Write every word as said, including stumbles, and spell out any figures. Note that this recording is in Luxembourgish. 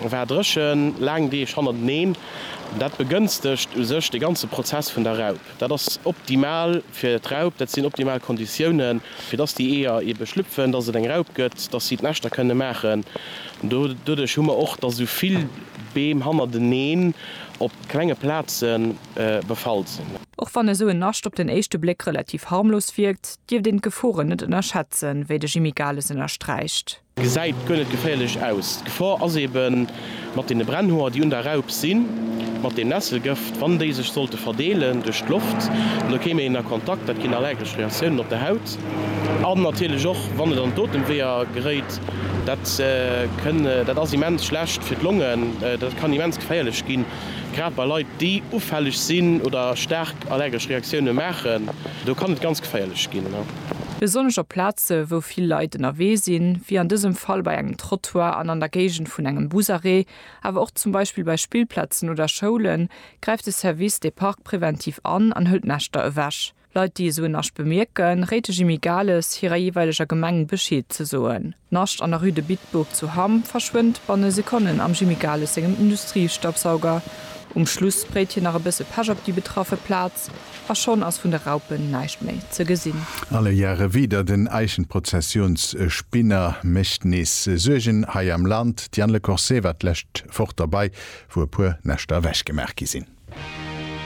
war dréchen, laang Deeg hannerteneen. Dat begënstegt u sech de ganze Prozess vun der Raup. Dat ass optimal fir d'Raup, dat sinn optimal Konditiounen, fir dass déi Eeër ebe schlüpfen, dass et eng Raup gëtt, dass si d'Näschter kënne maachen. Doduerch hu mer och, dass esou vill Beem hannerteneen op klenge Plaze befall sinn. Och wann esou en Nascht op den éischte Bléck relativ harmlos wierkt, dierft een d'Geforen net ënnerschätzen, wéi de Jimmy Gales ënnersträicht. Gesäit guer net geféierlech aus. D'Gefor ass ebe mat deene Brennhoer, déi un der Raup sinn, mat deem Nesselgëft, wann déi sech sollte verdeelen duerch d'Loft, an do kéim een a Kontakt, dat ginn allergesch Reaktiounen op der Haut. An natierlech och, wann et an d'Otemweeër geréit, dat kënn, dat ass immens schlecht fir d'Longen, dat kann immens geféierlech ginn, grad bei Leit, déi ufälleg sinn oder staark allergesch Reaktioune maachen, do kann et ganz geféierlech ginn. Besonnesch op Plaze wou vill Leit ënnerwee sinn, wéi an dësem Fall bei engem Trottoir an an der Géigend vun engem Busarrêt, awer och zum Beispill bei Spillplazen oder Schoulen, gräift de Service des Parcs preventiv an an hëlt Näschter ewech. Leit, déi esou en Nascht bemierken, réit de Jimmy Gales, hirer jeeweileger Gemeng Bescheed ze soen. D'Nascht an der Rue de Bitburg zu Hamm verschwënnt banne Sekonnen am Jimmy Gales sengem Industriestaubsauger. Um Schluss sprayt hien nach e bësse Pech op déi betraffe Plaz a schonn ass vun de Raupen näischt méi ze gesinn. Alle Jahre wieder, Den Eichenprozessionsspinner mécht nees Suergen hei am Land. D'Diane Le Corset war d'lescht Woch derbei, wou e puer Näschter ewechgemaach gi sinn.